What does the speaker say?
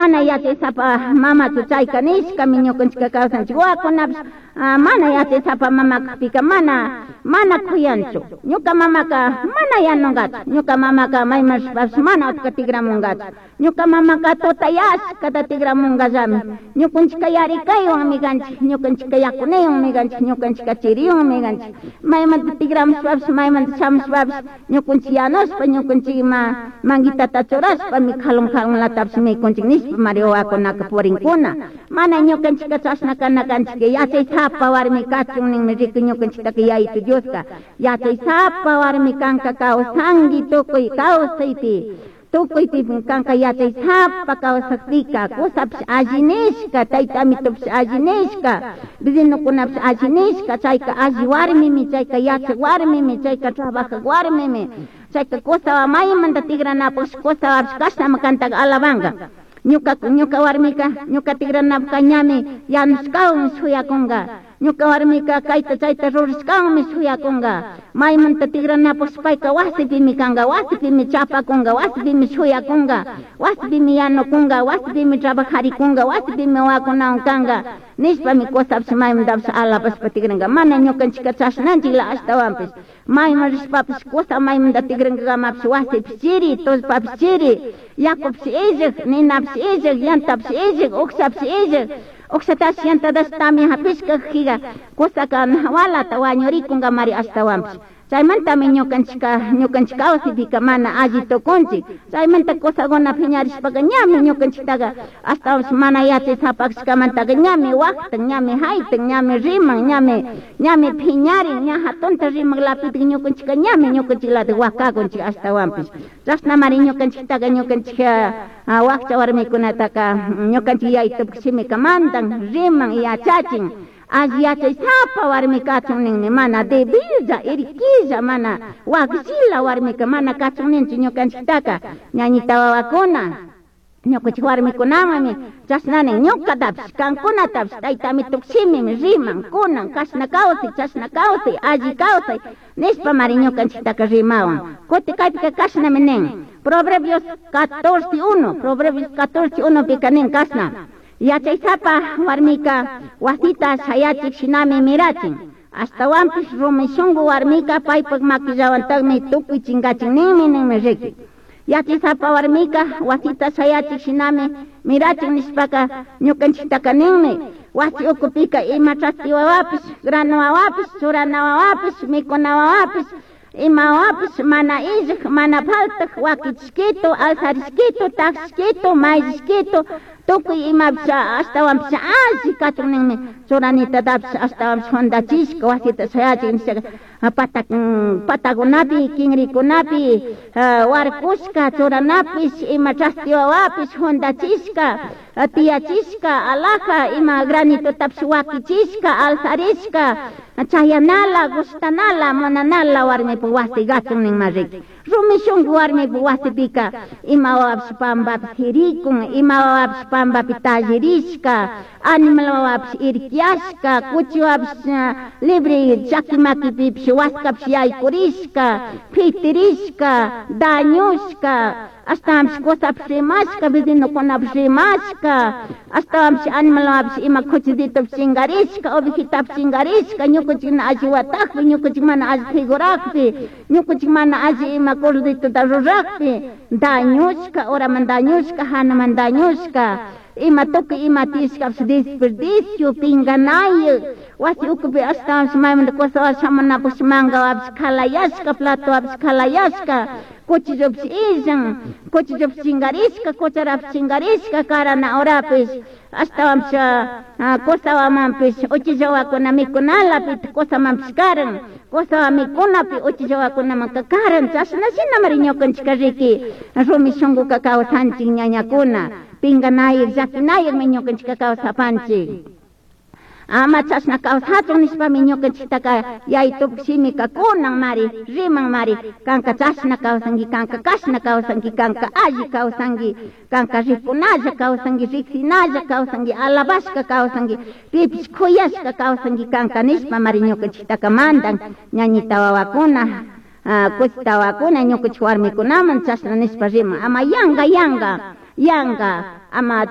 Mana yachaysapa mamachu chayka nishkami ñukanchika kawsanchik wawakunapish mana yachaysapa mama kakpika mana mana kuyanchu. Ñuka mamaka mana yanunkachu, ñuka mamaka mayman rishpapish mana utka tigramunkachu. Ñuka mamaka tutayashkata tigramunkallami. Ñukanchika yarikaywanmi kanchik, ñukanchika yakunaywanmi kanchik, ñukanchika chiriwanmi kanchik. Maymanta tigramushpapish, maymanta shamushpapish ñukanchik yanushpa, ñukanchik ima manguitata churashpami jalun jalunlatapish mikunchik nishpa mari wawakunaka purinkuna. Mana ñukanchika chashna kana kanchik, yachaysapa warmi kachun ninmi rikuy ñukanchiktaka Yayitu Dioska. Yachaysapa warmi kanka kawsanki tukuy kawsaypi. Tukuypi kanka yachaysapa kawsakpika, kusapish alli nishka, tayta amitopish alli nishka, vecinokunapish alli nishka, chayka alli warmimi, chayka yachak warmimi, chayka trabajak warmimi, chayka kusawa maymanta tigranapaksh kusawapish kashnami kantaka alabanka. Ñuka ñuka warmika ñuka tigranapaka ñami yanushkawan shuyakunka. Ñuka warmika kayta chayta rurashkawanmi shuyakunka. Maymanta tigranapaksh payka wasipimi kanka, wasipimi chapakunka, wasipimi shuyakunka, wasipimi yanukunka, wasipimi trabajarikunka, wasipimi wawakunawan kanka nishpami kusapish maymantapish alabashpa tigranka. Mana ñukanchika chashnanchikla ashtawanpish. Mayman rishpapish kusa maymanta tigrankamapish wasipish chiri, tullpapish chiri, yakupish illak, ninapish illak, yantapish illak, ukshapish illak. Ukshatash yantatash tamia hapishka jiga kusaka walata wañurikunkamari ashtawanpish. Chaymantami ñukanchika ñukanchik kawsaypika mana alli tukunchik. Chaymanta kusakuna piñarishpaka ñami ñukanchiktaka ashtawanpish mana yachaysapakashkamantaka ñami waktan, ñami haytan, ñami riman, ñami ñami piñarin, ña hatunta rimaklapitik ñukanchika ñami ñukanchiklatik wakakunchik ashtawanpish. Chashnamari ñukanchiktaka ñukanchik wakcha warmikunataka ñukanchik yayitupak shimika mandan, riman, yachachin. Alli yachaysapa warmi kachun ninmi, mana debilla, irquilla, mana wakllila warmika mana kachun ninchu ñukanchiktaka. Ñañita wawakuna, ñukanchik warmikunamanmi chashna nin, ñukatapish, kankunatapish, tayta amitupak shimimi riman, kunan, kashna kawsay, chashna kawsay, alli kawsay, nishpamari ñukanchiktaka rimawan. Kuti kaypika kashnami nin, Proverbios 14:1, Proverbios 14:1 pika nin kashna. Yachaysapa warmika wasita shayachik shinami mirachin. Ashtawanpish rumi shunku warmika paypak makillawantakmi tukuy chinkachin ninmi ninmi riki. Yachaysapa warmika wasita shayachik shinami mirachin nishpaka ñukanchiktaka ninmi. Wasi ukupika ima chaspi wawapish, grano wawapish, churana wawapish, mikuna wawapish, ima wawapish mana illak, mana faltak, wakichishkitu, alzarishkitu, takshkitu, mayllishkitu, tukuy imapish ashtawanpish alli kachun ninmi. Churanitatapish ashtawanpish jundachishka wasita shayachin nishaka patakunapi, kinrikunapi, warkushka churanapish, ima chaspi wawapish jundachishka, tiyachishka, alaja, ima granitotapish wakichishka, alzarishka, chayanala, gushtanala, munanala warmipak wasi kachun ninma riki. Rumi shunku warmipak wasipika ima wawapish pampapi sirikun, ima wawapish pampapi tallirishka, animal wawapish irquiashka, kuchi wawapish libre chaki makipipish waskapish yaykurishka, pitirishka, dañushka, ashtawanpish kusapish rimashka, vecinokunapish rimashka, ashtawanpish animal wawapish ima kuchiditopish chinkarishka, ovejitapish chinkarishka, ñukanchik mana alli watakpi, ñukanchik mana alli figurakpi, ñukanchik mana alli ima corditota rurakpi, dañushka, uraman dañushka, hanaman dañushka, ima tukuy ima tiyashkapish desperdicio, pinganayuk, wasi ukupi ashtawanpish maymanta kusawash shamunapaksh mankawapish kalayashka, platowapish kalayashka, cuchillopish illan, cuchillopish chinkarishka, cucharapish chinkarishka, karana horapish, ashtawanpish kusawamanpish uchilla wawakuna mikunalapi kusamanpish karan, kusawa mikunapi uchilla wawakunamanka karan, chashna shinamari ñukanchika riki rumi shunkuka kawsanchik ñañakuna, pinganayuk, llakinayukmi ñukanchika kawsapanchik. Ama chashna kawsachun nishpami ñukanchiktaka yayitupak shimika kunan mari, riman mari, kanka chashna kawsanki, kanka kashna kawsanki, kanka alli kawsanki, kanka rikunalla kawsanki, riksinalla kawsanki, alabashka kawsanki, pipish kuyashka kawsanki kanka nishpa mari ñukanchiktaka mandan ñañita wawakuna, kusita wawakuna, ñukanchik warmikunaman chashna nishpa riman, ama yanga yanga, yanga. Ama.